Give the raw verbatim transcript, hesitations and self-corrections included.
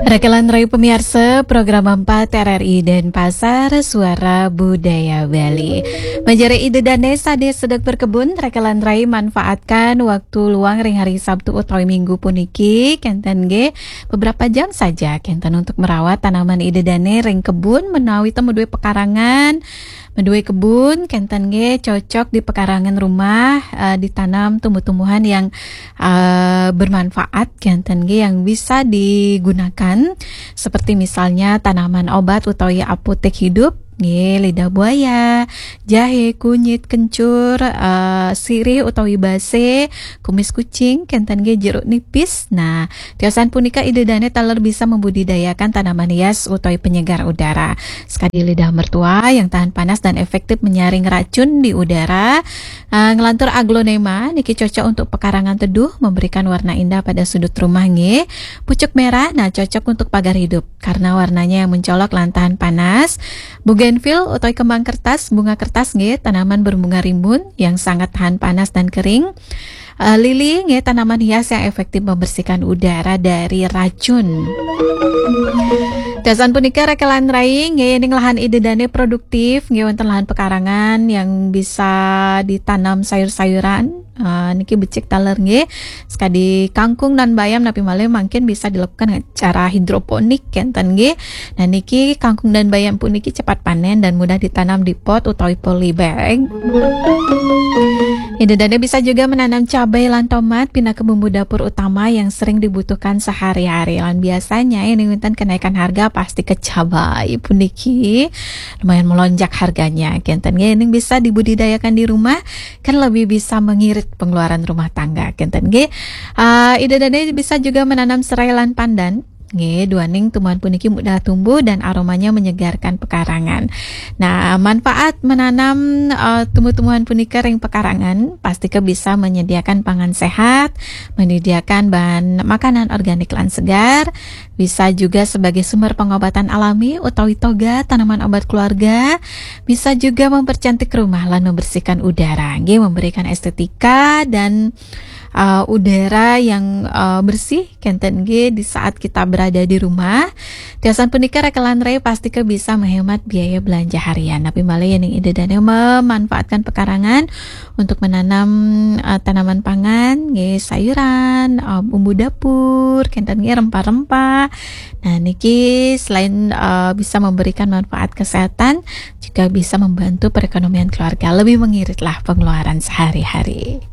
Rekelan Rai pemirsa, program empat R R I Denpasar, Suara Budaya Bali. Manjari Ida Dane sane sedek berkebun, rekelan Rai manfaatkan waktu luang ring hari Sabtu utawi Minggu puniki, kenten nggih, beberapa jam saja kenten untuk merawat tanaman Ida Dane ring kebun, menawi temu duwe pekarangan, meduwe kebun, kenten nggih cocok di pekarangan rumah, eh, ditanam tumbuh-tumbuhan yang, eh, bermanfaat, kenten nggih yang bisa digunakan, seperti misalnya tanaman obat utawi apotek hidup, nggih, lidah buaya, jahe, kunyit, kencur, eh, sirih utawi base, kumis kucing, kenten nggih jeruk nipis. Nah, tiosan punika Ida Dane taler bisa membudidayakan tanaman hias utawi penyegar udara. Sekadi lidah mertua yang tahan panas dan efektif menyaring racun di udara. Ah, ngelantur aglonema niki cocok untuk pekarangan teduh, memberikan warna indah pada sudut rumah nggih. Pucuk merah, nah, cocok untuk pagar hidup karena warnanya yang mencolok lan tahan panas. Bougainville utawi kembang kertas, bunga kertas nggih, tanaman berbunga rimbun yang sangat tahan panas dan kering. Eh, lili nggih, tanaman hias yang efektif membersihkan udara dari racun. Tiosan punika rekelan Rai nggih, ning lahan Ida Dane produktif nggih, wonten lahan pekarangan yang bisa ditanam sayur-sayuran. Eh, niki becik taler nggih. Sekadi kangkung dan bayam napi malih mangkin bisa dilakukan dengan cara hidroponik kenten nggih. Nah, niki kangkung dan bayam puniki cepat panen dan mudah ditanam di pot utawi polybag. Ida Dane bisa juga menanam cabai lan tomat pinaka bumbu dapur utama yang sering dibutuhkan sehari-hari. Lan biasanya ini wonten kenaikan harga pasti ke cabai puniki lumayan melonjak harganya. Kenten nggih, ini bisa dibudidayakan di rumah, kan lebih bisa mengirit pengeluaran rumah tangga. Kenten nggih. Ah, Ida Dane bisa juga menanam serai lan pandan. Nggih, duaning tumbuhan puniki mudah tumbuh dan aromanya menyegarkan pekarangan. Nah, manfaat menanam, eh, tumbuh-tumbuhan punika ring pekarangan, pastika bisa menyediakan pangan sehat, menyediakan bahan makanan organik lan segar, bisa juga sebagai sumber pengobatan alami utawi toga tanaman obat keluarga, bisa juga mempercantik rumah lan membersihkan udara, nggih, memberikan estetika dan, eh, udara yang, eh, bersih kenten nggih di saat kita berada di rumah. Tiosan punika rekelan Rai pastika bisa menghemat biaya belanja harian. Napi malih yen ing Ida Dane memanfaatkan pekarangan untuk menanam, eh, tanaman pangan, nggih, sayuran, eh, bumbu dapur, kenten nggih rempah-rempah. Nah, niki selain, eh, bisa memberikan manfaat kesehatan, juga bisa membantu perekonomian keluarga, lebih mengiritlah pengeluaran sehari-hari.